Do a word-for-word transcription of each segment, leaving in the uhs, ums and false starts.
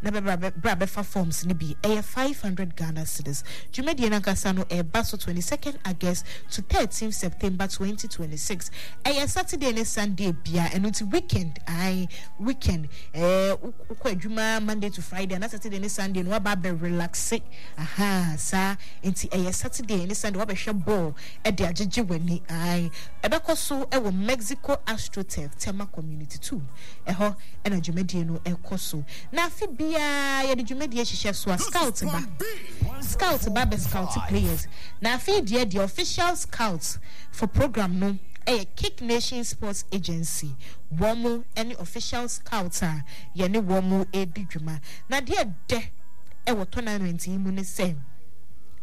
Na bɛbra bra bɛfa forms no bi. Ɛyɛ five hundred Ghana cedis. Dwumadie no ankasa no ɛreba so twenty second August to thirteenth September twenty twenty six. Ɛyɛ Saturday ne Sunday bia, ɛno nti weekend, ae, weekend, ɛɛ wokɔ adwuma Monday to Friday ana Saturday ne Sunday no waba abɛ relaxe, aha, saa nti ɛyɛ Saturday ne Sunday wabɛhwɛ ball ɛde agyegye w'ani, ae. Ɛbɛkɔ so ɛwɔ Mexico AstroTurf, Tema Community two, ɛhɔ ɛna dwumadie no ɛkɔ so. Na afe biara yɛde dwumadie hyehyɛ so a scout ba, scout ba bɛ scout players. Na afei deɛ deɛ official scout for program no ɛyɛ Kick Nation Sports Agency. Wɔn mo ɛne official scout a yɛne wɔn mo ɛredi dwuma. Na deɛ dɛ ɛwɔ tournament yi mu ne sɛ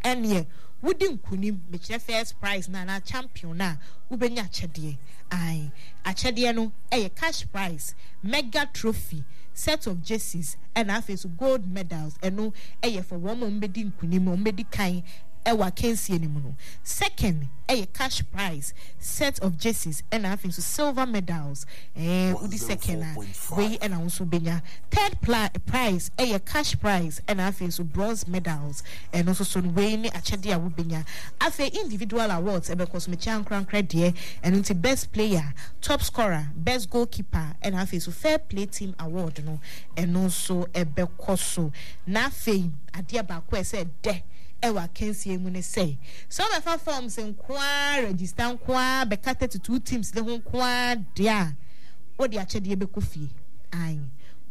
ɛneɛ wodi nkunim, mekyerɛ first prize na anaa champion na wobɛnya akyɛdeɛ. Ae, akyɛdeɛ no ɛyɛ cash prize, mega trophy, set of jerseys, ɛna afei so gold medals. Ɛno ɛyɛ for wɔn a wɔbɛdi nkunim, wɔn bɛdi kan ɛwɔ akansie no mu no. Second ɛyɛ cash prize, set of jerseys, ɛna afei nso silver medals. Ɛɛ wodi second a, wei ɛna wɔn nso bɛnya. Third prize ɛyɛ cash prize, ɛna afei nso bronze medals. Ɛno nso so no, wei ne akyɛdeɛ a wobɛnya. Afei individual awards ɛbɛkɔ so, mekyɛ ankorankora deɛ. Ɛno nti best player, top scorer, best goalkeeper, ɛna afei nso fair play team award no, ɛno nso ɛbɛkɔ so. Na afei adeɛ baako a ɛsɛ dɛ ɛwɔ akansie mu ne sɛ sɛ wɔbɛfa forms nkoa, register nkoa, bɛka thirty two teams ne ho nkoa deɛ a, wɔde akyɛdeɛ bɛkɔ fie. Ae,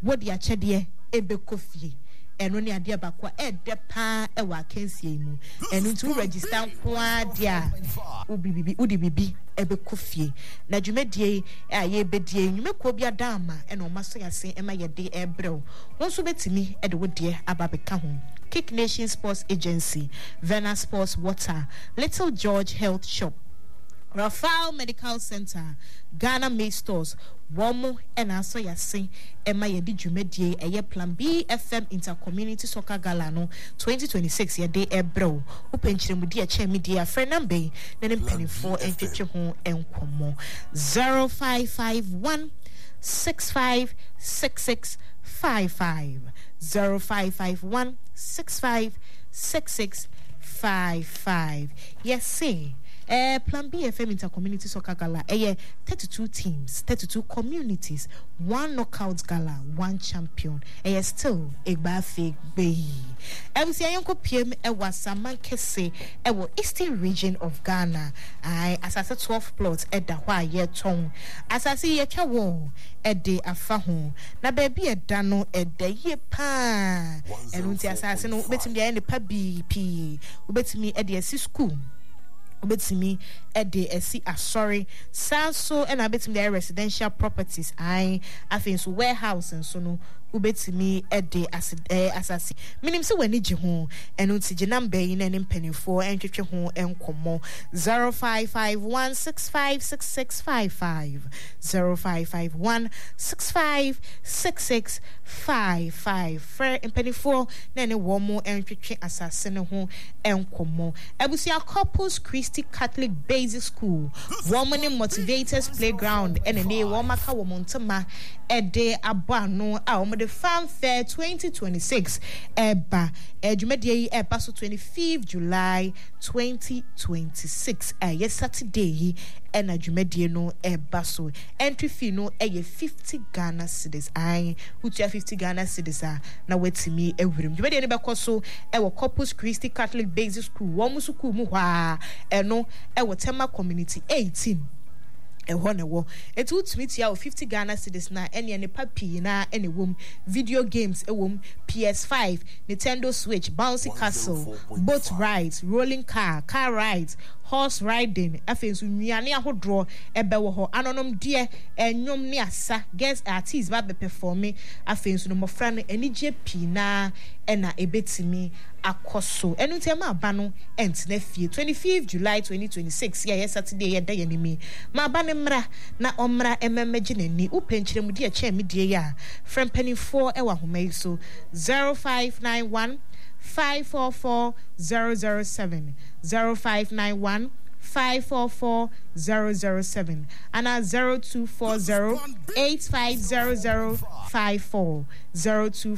wɔde akyɛdeɛ ɛbɛkɔ fie. Ɛno ne adeɛ baako a ɛɛdɛ paa ɛwɔ akansie yi mu. Ɛno nti wo register nkoa deɛ a, wode bibi wode bibi ɛbɛkɔ fie. Na dwumadie yi a yɛrebɛdie, nnwumakuo bi ada ama ɛna ɔma so yɛase ɛma yɛde ɛrebrɛ wo. Wɔn nso bɛtumi ɛde wo deɛ aba abɛka ho. Kick Nation Sports Agency, Vena Sports Water, Little George Health Shop, Rafael Medical Center, Ghana Maize Stores, wɔn mo ɛna asɔ yɛase ɛma yɛde dwumadie ɛyɛ Plan B F M Intercommunity Soccer Gala no twenty twenty-six yɛde ɛbrɛ wo. Wopɛ nkyerɛmudi ɛkyɛn mi deɛ, afrɛ number yi na ne mpanimfoɔ ntwetwe ho nkɔmmɔ: zero five five one six five six six five five, zero five five one six five six six five five. Yɛse eh, Plan B F M Intercommunity Soccer Gala ɛyɛ thirty-two teams, thirty-two communities, one knockout gala, one champion. Ɛyɛ still egba gbeyi. Abusua, yɛnkɔ piem ɛwɔ Asaman Kɛse ɛwɔ Eastern Region of Ghana. Ae, asase twelve plots ɛda hɔ a yɛtɔn. Asase yi yɛtwa wɔ ɛde afa ho na baabi ɛda no ɛda yie paa. Ɛno nti asase no wobɛtumi de ayɛ nipa bii pii. Wobɛtumi ɛde asi school, wobɛtumi ɛde asi asɔre, saa nso ɛna wobɛtumi de ayɛ residential properties. Ae, afei nso warehouse nso no wobɛtumi ɛde ase ɛɛ asase. Menim sɛ w'ani gye ho, ɛno nti gye number yi na ɛne mpanimfoɔ ɛntwetwe ho nkɔmmɔ: zero five five one six five six six five five, zero five five one six five six six five five. Frɛ mpanimfoɔ na ɛne wɔn mo ntwetwe asase no ho nkɔmmɔ. Abusua, Corpus Christi Catholic Basic School, wɔn ne Motivators Playground ɛna ne wɔn aka wɔn ntoma ɛde abɔ ano a wɔde Fanfare twenty twenty-six ɛba. Dwumadie yi ɛba so twenty-fifth July twenty twenty-six, ɛyɛ Saturday yi ɛna dwumadie no ɛba so. Entry fee no ɛyɛ fifty Ghana cedis. Ae, wotua fifty Ghana cedis a na watumi awuram. Dwumadie no bɛkɔ so ɛwɔ Corpus Christi Catholic Basic School, wɔn sukuu mu hɔ a ɛno ɛwɔ Tema Community eighteen, ɛhɔ na ɛwɔ. Eti wotumi tua wɔ fifty Ghana cedis na ɛnea nipa pii na ɛna ɛwɔ mu. Video games ɛwɔ mu, P S five, Nintendo Switch, bouncy castle, boat rides, rolling car, car rides, horse riding. Afei nso nnuane ahodoɔ ɛbɛwɔ hɔ, anonomdeɛ, ɛnwom ne asa, guest artist ba bɛ perform. Afei nso no mmɔfra no anigye pii na ɛna ɛbɛtumi akɔ so. Ɛno nti ɛma aba no ɛntena fie. twenty-fifth July twenty twenty-six yɛ yɛ Saturday, yɛda yɛn anim yi, ma aba no mmra na ɔmmra mmɛmmɛgye n'ani. Wopɛ nkyerɛmudi ɛkyɛn me die yi a, frɛ mpanimfoɔ ɛwɔ ahoma yi so: zero five nine one five four four zero zero seven, zero five nine one five four four zero zero seven ana zero two four zero eight five zero zero five four, zero two.